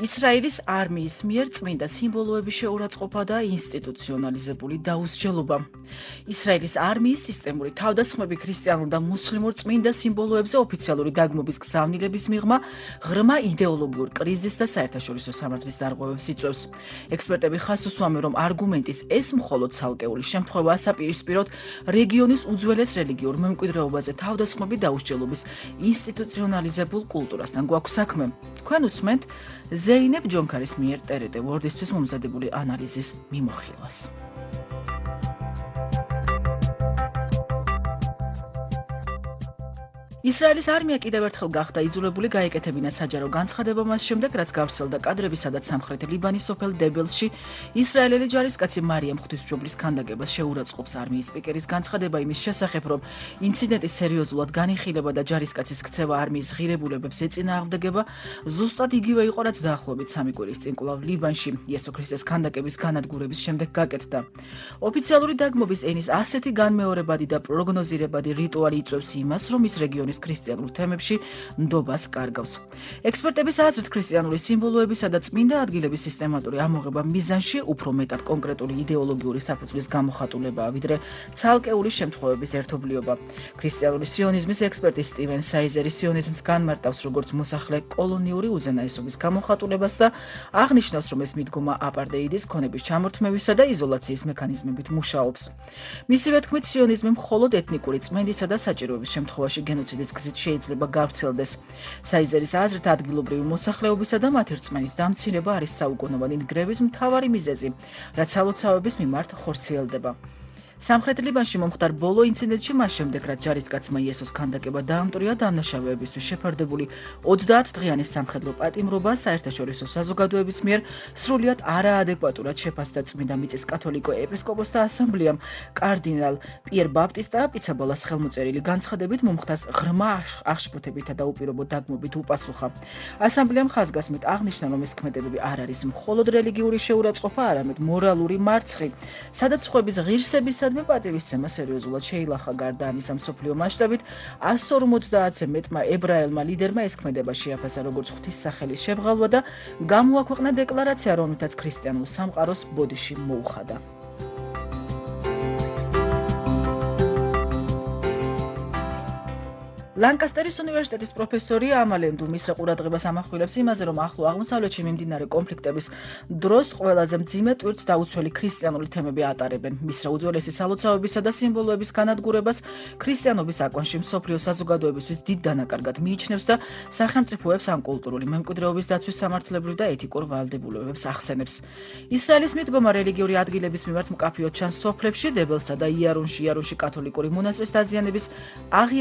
ისრაელის არმიის მიერ წმინდა სიმბოლოების შეურაცხყოფა და ინსტიტუციონალიზებული დაუსჯელობა. ისრაელის არმიის სისტემური თავდასხმები ქრისტიანულ და მუსლიმურ წმინდა სიმბოლოებზე ოფიციალური დაგმობის გზავნილების მიღმა ღრმა იდეოლოგიურ კრიზისს და საერთაშორისო სამართლის დარღვევებს იწვევს. ექსპერტები ხაზს უსვამენ, რომ არგუმენტის ეს მხოლოდ ცალკეული შემთხვევაა საპირისპიროდ რეგიონის უძველეს რელიგიურ მემკვიდრეობაზე თავდასხმები დაუსჯელობის ინსტიტუციონალიზებულ კულტურასთან გვაქვს საქმე. თქვენ უსმენთ ზეინებ ჯონქარის მიერ ტერეტე ვორდისთვის მომზადებული ანალიზის მიმოხილვას. ისრაელის არმია კიდევ ერთხელ გახდა იძულებული გაეკეთებინა საჯარო განცხადება მას შემდეგ, რაც გავრცელდა კადრები, სადაც სამხრეთი ლიბანის სოფელ დებელში ისრაელელი ჯარისკაცი მარიამ ღვთისმშობლის ქანდაკებას შეურაცხყოფს. არმიის სპიკერის განცხადება იმის შესახებ, რომ ინციდენტი სერიოზულად განიხილება და ჯარისკაცის ქცევა არმიის ღირებულებებს ეწინააღმდეგება, ზუსტად იგივე იყო, რაც დაახლოებით 3 კვირის წინ კვლავ ლიბანში იესო ქრისტეს ქანდაკების განადგურების შემდეგ გაკეთდა. ოფიციალური დაგმობის ენის ასეთი განმეორებადი და პროგნოზირებადი რიტუალი იწვევს იმას, რომ ის რეგიონის ქრისტიანულ თემებში ნდობას კარგავს. ექსპერტების აზრით, ქრისტიანული სიმბოლოებისა და წმინდა ადგილების სისტემატური ამოღება მიზანში უფრო მეტად კონკრეტული იდეოლოგიური საფუძვლის გამოხატულებაა, ვიდრე ცალკეული შემთხვევების ერთობლიობა. ქრისტიანული სიონიზმის ექსპერტი სტივენ საიზერი სიონიზმს განმარტავს როგორც მოსახლე კოლონიური უზენაესობის გამოხატულებას და აღნიშნავს, რომ ეს მიდგომა აპარტეიდის ქონების ჩამორთმევისა და იზოლაციის მექანიზმებით მუშაობს. მისივე თქმით, სიონიზმი მხოლოდ ეთნიკური წმენდისა და საჭიროების შემთხვევაში გენოციდის გზით შეიძლება გავრცელდეს. საიზერის აზრით, ადგილობრივი მოსახლეობისა და მათი რწმენის დამცირება არის საუკუნოვანი ნგრევის მთავარი მიზეზი, რაც სალოცავების მიმართ ხორციელდება. სამხრეთ ლიბანში მომხდარ ბოლო ინციდენტში მას შემდეგ, რაც ჯარისკაცმა იესოს ქანდაკება დაამტვრია დამნაშავეებისთვის შეფარდებული 30 დღიანი სამხედრო პატიმრობა საერთაშორისო საზოგადოების მიერ სრულიად არაადეკვატურად შეფასდა წმინდა მიწის კათოლიკო ეპისკოპოსთა ასამბლეამ კარდინალ პიერ ბაპტისტა პიცაბალას ხელმოწერილი განცხადებით მომხდარს ღრმა აღშფოთებითა და უპირობო დაგმობით უპასუხა. ასამბლეამ ხაზგასმით აღნიშნა, რომ ეს ქმედებები არ არის მხოლოდ რელიგიური შეურაცხყოფა, არამედ მორალური მარცხი, სადაც სხვების ღირსებისა პატივისცემა სერიოზულად შეილახა. გარდა ამისა, მსოფლიო მასშტაბით 150-ზე მეტმა ებრაელმა ლიდერმა ეს ქმედება შეაფასა როგორც ღვთისმსახელის შემღალვა და გამოაქვეყნა დეკლარაცია, რომელთაც ქრისტიანულ სამყაროს ბოდიში მოუხადა. ლანკასტერის უნივერსიტეტის პროფესორი ამალენდუ მისრა ყურადღებას ამახვილებს იმაზე, რომ ახლო აღმოსავლეთში მიმდინარე კონფლიქტების დროს ყველაზე მძიმე ტვირთს დაუცველი ქრისტიანული თემები ატარებენ. მისრა უძველესი სალოცავებისა და სიმბოლოების განადგურებას ქრისტიანობის აკვანში მსოფლიო საზოგადოებისთვის დიდ დანაკარგად მიიჩნევს და სახელმწიფოებს ამ კულტურული მემკვიდრეობის დაცვის სამართლებრივ და ეთიკურ ვალდებულებებს ახსენებს. ისრაელის მიდგომა რელიგიური ადგილების მიმართ მკაფიოდ ჩანს სოფლებში, დებელსა და იარუნში კათოლიკური მონასტრის დაზიანების